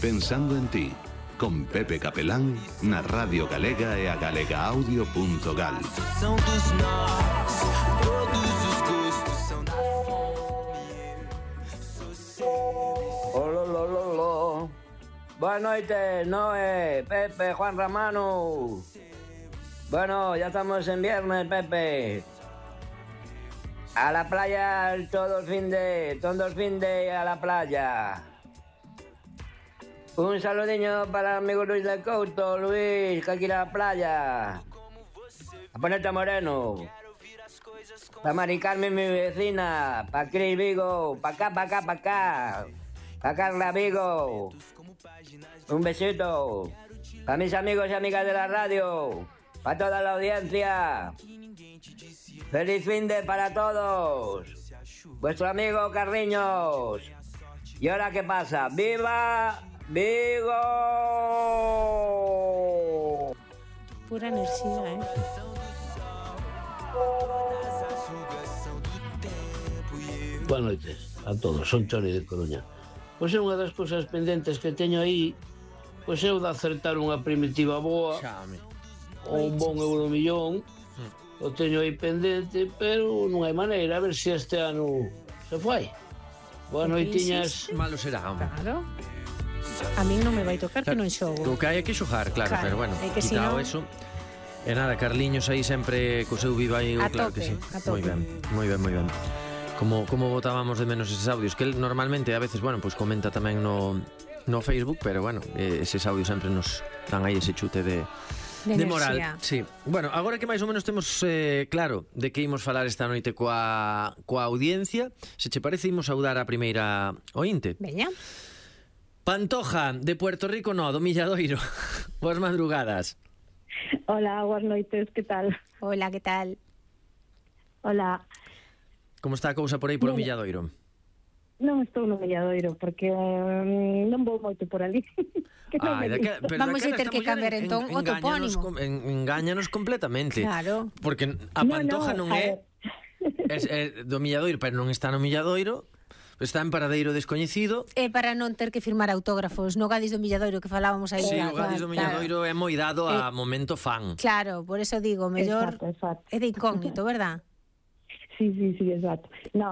Pensando en ti, con Pepe Capelán na Radio Galega e a galegaaudio.gal. Ololololo. Buenas noches, Noé, Pepe, Juan Ramano. Bueno, ya estamos en viernes, Pepe. A la playa todo el fin de a la playa. Un saludinho para el amigo Luis del Couto, Luis, que aquí a la playa. A ponerte moreno. Para Mari Carmen, mi vecina. Para Cris Vigo. Para acá. Para Carla Vigo. Un besito. Para mis amigos y amigas de la radio. Para toda la audiencia. Feliz fin de para todos. Vuestro amigo Carriños. ¿Y ahora qué pasa? ¡Viva Vigo! Pura enerxía, Boas noites a todos, son Chori de Coruña. Pois é unha das cousas pendentes que teño aí, pois é o de acertar unha primitiva boa, un bon euromillón, o teño aí pendente, pero non hai maneira, a ver se este ano se fai. Boas noitiñas. Malo será, home. Claro. A min non me vai tocar que non xogo. O que hai que xogar, claro, pero bueno, quitado eso. E nada, Carliños aí sempre co seu viva aí, claro que sí. Moi ben. Como botábamos de menos eses audios, que él normalmente a veces, bueno, pues comenta tamén no Facebook, pero bueno, eses audios sempre nos dan aí ese chute de moral. Sí. Bueno, agora que máis ou menos temos claro de que imos falar esta noite coa audiencia, se che parece imos saudar a primeira ointe. Veña. Pantoja, de Puerto Rico, do Milladoiro. Boas madrugadas. Hola, boas noites, que tal? Hola, que tal? Hola. Como está a cousa por aí polo Milladoiro? Non estou no Milladoiro, porque non vou moito por ali. Vamos a ter que cambiar entón o topónimo. Engáñanos completamente. Claro. Porque a Pantoja non é do Milladoiro, pero non está no Milladoiro. Está en paradeiro descoñecido. É para non ter que firmar autógrafos no Gadis do Milladoiro que falábamos aí. Sí, o Gadis do Milladoiro é moi dado a momento fan. Claro, por eso digo, mellor é de incógnito, verdad? Sí, exacto. No,